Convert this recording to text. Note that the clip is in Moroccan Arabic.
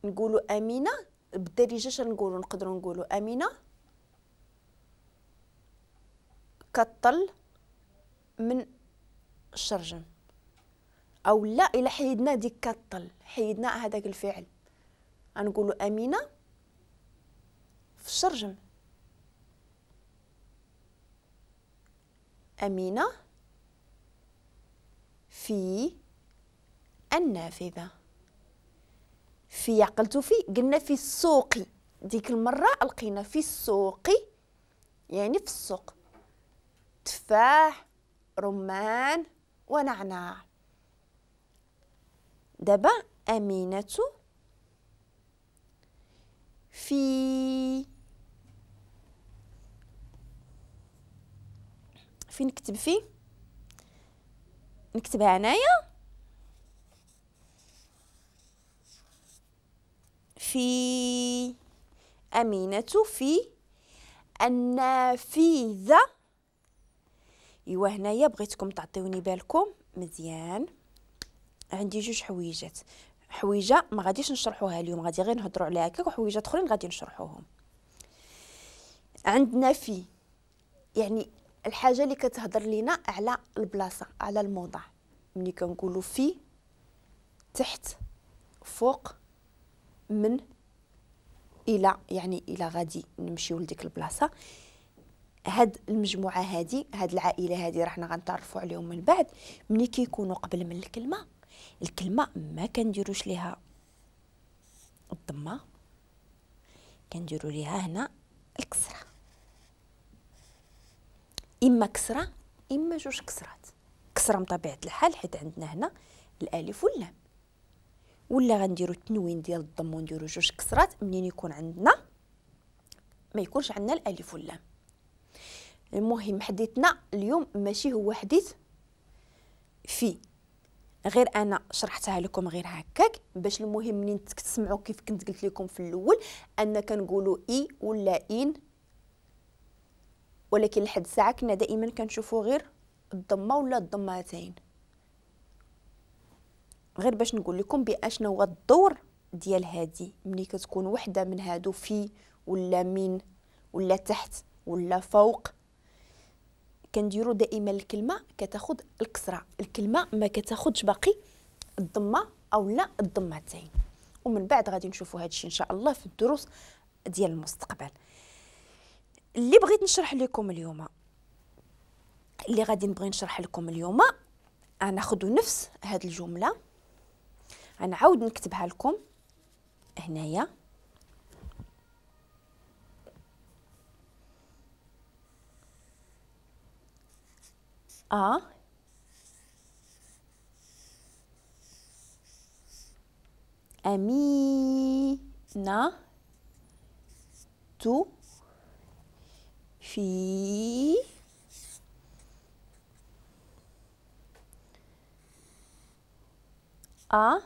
نقولوا امينه بالدارجة، شنو نقدروا نقولوا؟ امينه كطل من الشرجم، او لا الا حيدنا ديك كطل، حيدنا هذاك الفعل، غنقولوا امينه في الشرجم. امينه في النافذة. في عقلتو في قلنا في السوق، ديك المرة لقينا في السوق يعني في السوق، تفاح رمان ونعناع. دابا أمينة في نكتب في، نكتبها هنايا في أمينة في النافذة. ايوا هنايا بغيتكم تعطيوني بالكم مزيان. عندي جوج حويجات، حويجه ما غاديش نشرحوها اليوم، غادي غير نهضروا عليها هكاك، وحويجات اخرين غادي نشرحوهم. عندنا في يعني الحاجة اللي كتهضر لينا على البلاصة، على الموضع. ملي كنقولوا في، تحت، فوق، من، الى، يعني الى غادي نمشيو لديك البلاصة. هاد المجموعة هادي، هاد العائلة هادي راه حنا غنتعرفوا عليهم من بعد. ملي كيكونوا قبل من الكلمة، الكلمة ما كنديروش ليها الضمة، كنديروا ليها هنا الكسرة، اما كسره اما جوج كسرات. كسره بطبيعة الحال حيت عندنا هنا الالف واللام، ولا غنديروا التنوين ديال الضم ونديروا جوج كسرات منين يكون عندنا ما يكونش عندنا الالف واللام. المهم حديثنا اليوم ماشي هو حديث في، غير انا شرحتها لكم غير هكاك باش المهم منين تسمعوا كيف كنت قلت لكم في الاول ان كنقولوا اي ولا ان، ولكن لحد الساعة كنا دائما كنشوفوا غير الضمة ولا الضمتين. غير باش نقول لكم باشنا هو الدور ديال هادي ملي كتكون وحده من هادو في ولا من ولا تحت ولا فوق، كنديروا دائما الكلمة كتاخذ الكسرة، الكلمة ما كتاخذش باقي الضمة او لا الضمتين. ومن بعد غادي نشوفوا هذا الشيء ان شاء الله في الدروس ديال المستقبل. اللي بغيت نشرح لكم اليوم، اللي غادي نبغي نشرح لكم اليوم، غناخذوا نفس هذه الجملة، غنعاود نكتبها لكم هنايا. أ أمينة في أ